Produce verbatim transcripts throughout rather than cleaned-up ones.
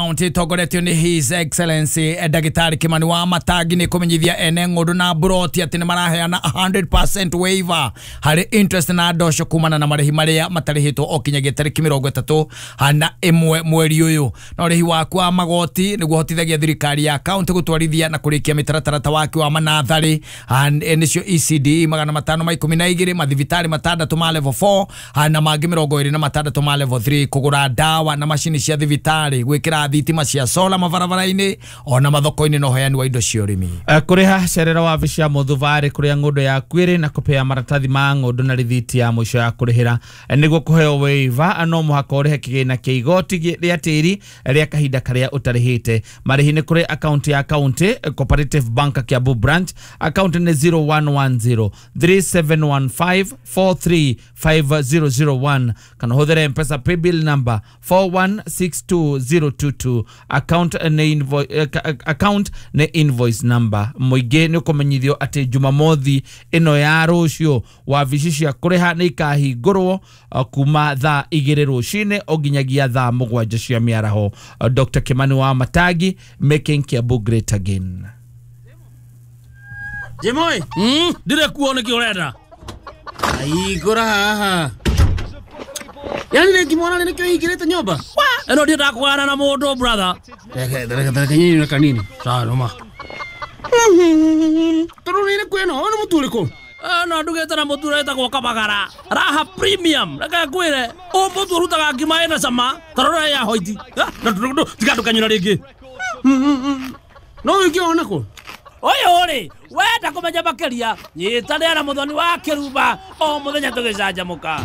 County ĩtongoretio nĩ His Excellency Ndagĩtarĩ Kimani wa Matangi nĩ kũmenyithia ene ng'ũndũ na mburoti atĩ nĩ maraheana one hundred percent waiver harĩ interest na ndosho kumana na marĩhi marĩa matarĩhĩtwo o kinyagia tarĩki mĩrongo ĩtatũ na ĩmwe mweri ũyũ. Na ũrĩhi waku wa magoti nĩguo hotithagia thirikari ya county gũtwarithia na kũrĩkia mĩtaratara ta waki wa manatharĩ, nĩcio E C D magana matano ma ikũmi na igĩrĩ, mathibitarĩ matandatũ ma level four na mangĩ mĩrongo ĩrĩ na matandatũ ma level three, kũgũra ndawa na macini cia thibitarĩ, gwĩkĩra thitima cia sola mabarabara-inĩ ona mathoko-inĩ, na ũheani wa indo cia ũrĩmi. Kũrĩha cerera wabici ya mũthubarĩ kũrĩa ng'ũndũ yaku ĩrĩ na kũpea maratathi ma ng'ũndũ na rĩthiti ya mũico ya kũrĩhĩra. Nĩguo kũheo waiver, no mũhaka ũrĩhe kĩgĩna kĩa igoti rĩa tĩri rĩa kahinda karĩa ũtarĩhĩte. Marĩhi nĩ kũrĩ akaunti ya county Cooperative Bank, Kiambu branch, akaunti nĩ zero one one zero three seven one five four three five zero zero one, kana ũhũthĩre M-Pesa paybill number four one six two zero two two, account nĩ invo, eh, account nĩ invoice number. Mũingĩ nĩ ũkũmenyithio atĩ Jumamothi ĩno ya rũciũ wabici cia kũrĩha nĩ ikahingũrwo uh, kuma thaa igĩrĩ rũcinĩ o nginyagia thaa mũgwanja cia mĩaraho. uh, Doctor Kimani wa Matangi, making Kiambu great again. Jimoi, Mm, ndire kuo nĩkĩ ũrenda? Ahingũra haha. Yani rĩngĩ mwana nĩkĩo hingĩrĩte nyũmba? Ĩno ndiendaga kũgana na mũndũ, brother. Reke reke reke nyinyi kanini. Sawa noma. Tondũ nĩ kwĩno, ũyũ nĩ mũtu ũrĩkũ? Ĩno ndugĩte na mũtu ũretagwo Kabagara Raha Premium. Reke ngwĩre, ũyũ mũtu ũrutaga ngima ĩna cama ta rora ya hoiti. Tiga ndũkanyũra rĩngĩ. No wĩke ona kũ? Ũyũ rĩ, wenda kũmenya makĩria, nyitanĩra na Mũthoni wa Kĩrumba o mũthenya tũgĩcanjamũka.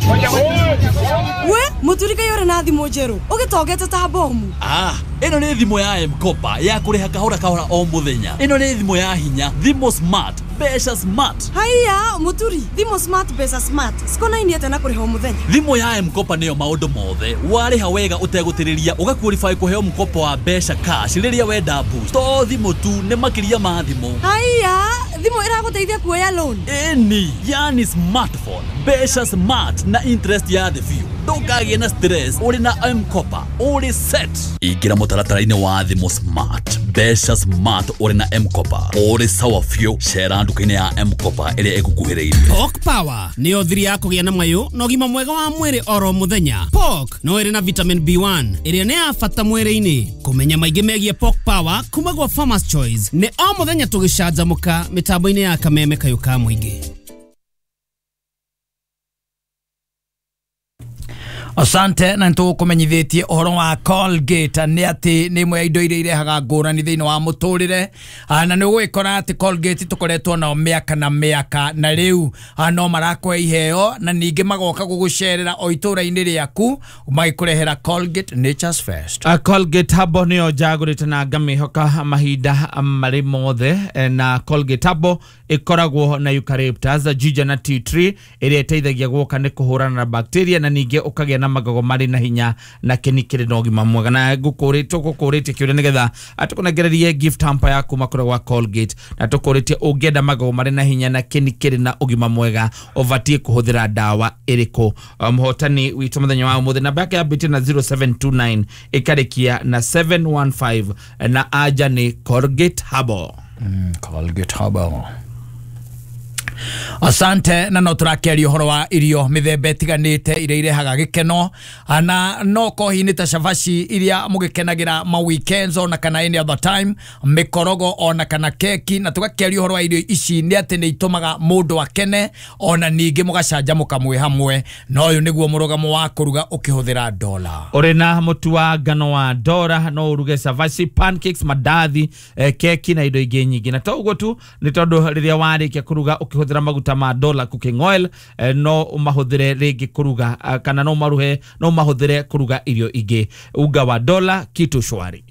We mũturi, kaĩ ũrĩ na thimũ njerũ ũgĩtongete ta bomu? Ah, ĩno nĩ thimũ ya M-Kopa ya kũrĩha kahora kahora o mũthenya. Ĩno nĩ thimũ ya hinya, thimũ smart, mbeca smart. Haiya mũturi, thimũ smart, mbeca smart cikonainie atĩa na kũrĩha o mũthenya? Thimũ ya M-Kopa nĩyo maũndũ mothe. Warĩha wega ũtegũtĩrĩria, ũgaqualify kũheo mkopo wa mbeca cash rĩrĩa wenda boost. To thimũ tu, nĩ makĩria ma thimũ. Haiya, thimũ ĩragũteithia kuoya loan? Ĩni, yani smartphone, mbeca smart na interest ya thĩ biũ. Ndũkagĩe na stress, ũrĩ na M-Kopa ũrĩ set. Ingĩra mũtaratara-inĩ wa thimũ smart, mbeca smart, ũrĩ na M-Kopa ũrĩ sawa biũ. Cera nduka-inĩ ya M-Kopa ĩrĩa ĩgũkuhĩrĩirie. Pork Power nĩyo thiri ya kũgĩa na mayũ na ũgima mwega wa mwĩrĩ oro mũthenya. Pork no ĩrĩ na vitamin B one ĩrĩa nĩ ya bata mwĩrĩ-inĩ. Kũmenya maingĩ megiĩ Pork Power kuma gwa Farmers Choice nĩ o mũthenya tũgĩcanjamũka mĩtambo-inĩ ya Kameme Kayũ ka Mũingĩ. Asante. Na nĩtũkũmenyithĩtie ũhoro wa Colgate nĩ atĩ nĩ ĩmwe ya indo iria irehaga ngũrani thĩinĩ wa mũtũrĩre. Ah, na nĩ ũgũgĩkora atĩ Colgate tũkoretwo nao mĩaka na mĩaka, na rĩu ah, no marakũhe iheo na ningĩ magoka gũgũcerera o itũra-inĩ rĩaku magĩkũrehera Colgate Nature's First. Uh, Colgate Herbal nĩyo njagũrĩte na ngamĩhoka mahinda marĩ mothe. eh, na Colgate Herbal ĩkoragwo na eucalyptus, ginger na tea tree ĩrĩa ĩteithagia gwoka nĩ kũhũrana na bacteria na ningĩ ũkagĩa na magego marĩ na hinya na kĩni kĩrĩ na ũgima mwega. Na ngũkũrĩtie tũgũkũrĩtie kĩũria nĩgetha tũkũnengererie gift hamper ya kuma kũrĩa gwa Colgate, na tũkũrĩtie, ũngĩenda magego marĩ na hinya na kĩni kĩrĩ na ũgima mwega, ũbatiĩ kũhũthĩra ndawa ĩrĩkũ? Uh, mũhotani witũ mũthenya wa ũmũthĩ, namba yake yambĩtie na zero seven two nine ĩkarĩkia na seven one five, na anja nĩ Colgate Herbal. mm, Colgate Herbal. Asante. Na no tũrakĩaria ũhoro wa irio mĩthemba ĩtiganĩte iria irehaga gĩkeno, na no kohi nĩ ta cabaci iria mũgĩkenagĩra ma weekends ona kana any other time, mĩkorogo ona kana keki, na tũgakĩaria ũhoro wa irio ici nĩ atĩ nĩ itũmaga mũndũ akene ona ningĩ mũgacanjamũka mwĩ hamwe. Na ũyũ nĩguo mũrũgamo wa kũruga ũkĩhũthĩra Dola. Ũrĩ na mũtu wa ngano wa Dora no ũruge cabaci, pancakes, mandathi, eh, keki na indo ingĩ nyingĩ. Na to ũguo tu, nĩ tondũ rĩrĩa warĩkia kũruga ũkĩhũthĩra maguta ma Dola cooking oil, eh, no ũmahũthĩre rĩngĩ kũruga, eh, kana no ũmaruhe no ũmahũthĩre kũruga irio ingĩ. Unga wa Dola, kitu shwari.